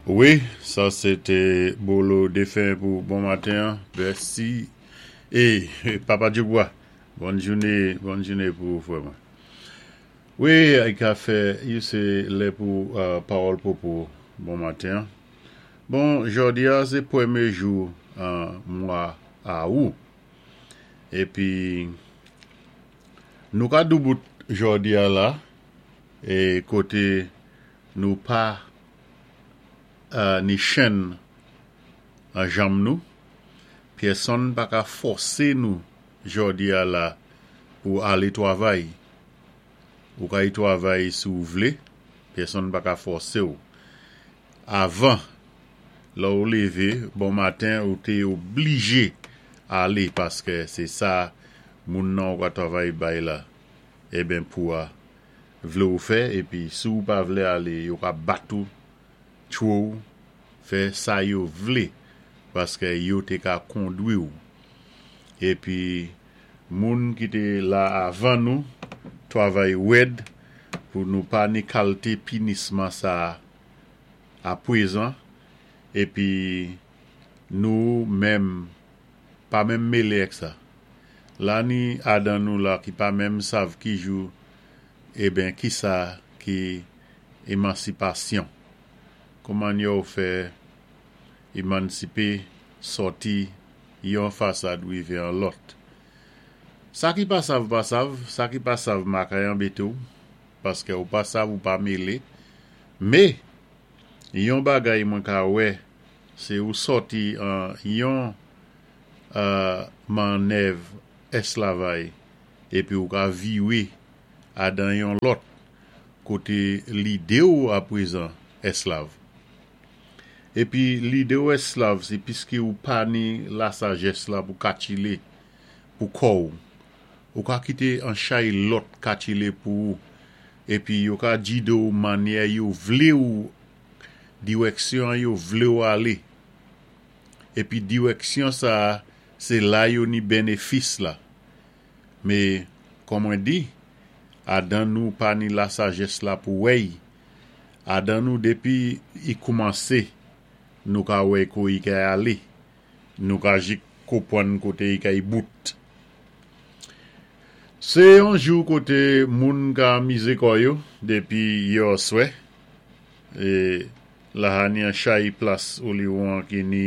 Wi, sa sé té Bolo Défen pou bon maten an. Mèsi. É Papa Djougwa, bòn jouné, bòn jouné pou ou frè mwen. Wi, i ka fè you sé lè pou pawòl popo bon maten an. Bon, jòdi a sé pwémyé jou an mwa Awou. Épi nou ka doubout jòdi a la é koté nou pa ni chenn an janm nou, pyèsonn pa ka fòsé nou jòdi a la pou alé twavay. Ou ka y twavay si ou vlé, pyèsonn pa ka fòsé ou. Avan, lè ou lévé bon maten ou té oblijé alé paskè sé sa moun nan ou ka twavay bay la eben pou a vle ou fè epi si ou pa vle ale yo ka bat ou tchwe w fè sa yo vle paske yo te ka kondwi w epi moun ki te la avan nou twavay rèd pou nou pa ni kalte pinisman sa apwezan epi nou menm pa menm mele èk sa la ni adan nou la ki pa menm sav ki jou eben kisa ki emansipasyon kouman yow fè emansipe sòti yon fasad rive an lòt sa ki pa sav pa sav sa ki pa sav makay anbete w paske ou pa sav ou pa mele me yon bagay mwen ka wè se ou sòti an yon mannèv eslavay épi ou ka viwé adan yon lòt koté lidé ou apwézan èslav. Épi lidé ou èslav sé piské ou pa ni lasajès la pou katchilé pou kò ou. Ou ka kité an chay lòt katchilé pou ou épi yo ka djidé ou mannyè yo vlé ou diwèksyon an yo vlé ou alé. Épi diwèksyon sa-a sé la yo ni bennefis la. Me, kon mwen di, adan nou pa ni lasajès la pou wè-y, adan nou dépi i koumansé nou ka wè ko i kay alé, nou ka jik kopwann koté i kay bout. Sé yon jou koté moun ka mizé kò yo dépi yèoswè, é laha ni an chay plas Oliwon ki ni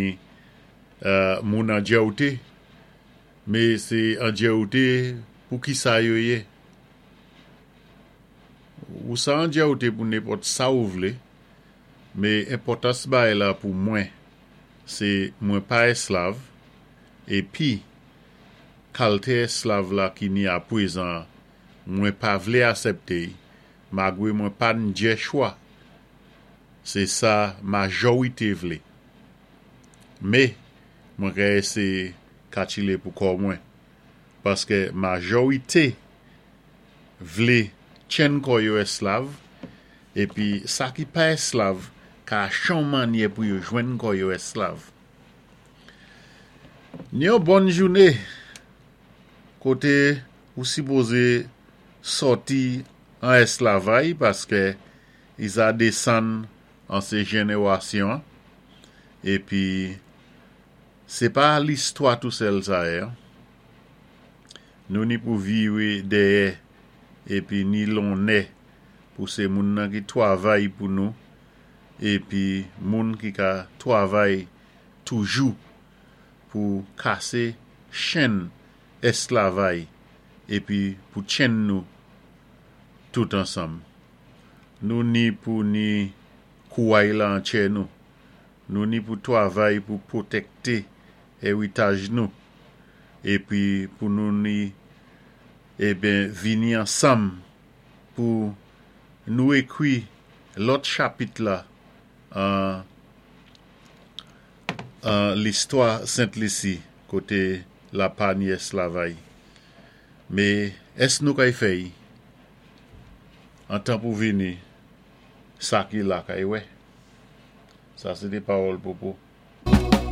moun an djèwté. Me se andjèwte pou kisa yo ye? Ou sa andjèwte pou nenpòt sa ou vle, me enpòtans bagay la pou mwen se mwen pa èslav epi kalte èslav la ki ni apwezan mwen pa vle asèpte y magre mwen pa n djè chwa se sa majòwite vle me mwen ka eseye katchile pou kò mwen paskè majòwite vle tchenn kò yo èslav épi sa ki pa èslav ka chan mannyè pou yo jwenn kò yo èslav. Ni yon bòn jouné koté ou sipoze sòti an èslavay paskè i sa desann an sé jennewasyon épi sé pa listwa tou sèl sa yé an. Nou ni pou viwé dèyè épi ni lonnè pou sé moun nan ki twavay pou nou épi moun ki ka twavay toujou pou kasé chenn èsklavay épi pou tchenn nou tout ansanm. Nou ni pou ni kouway la an tchè nou. Nou ni pou twavay pou pwotèkté èwitaj nou épi pou nou ni eben vini ansanm pou nou ékwi lòt chapit la an an listwa Sent Lisi koté la pa ni èsklavay. Mé ès nou kay fè y an tan pou vini sa ki la kay wè. Sa sé té pawòl Popo.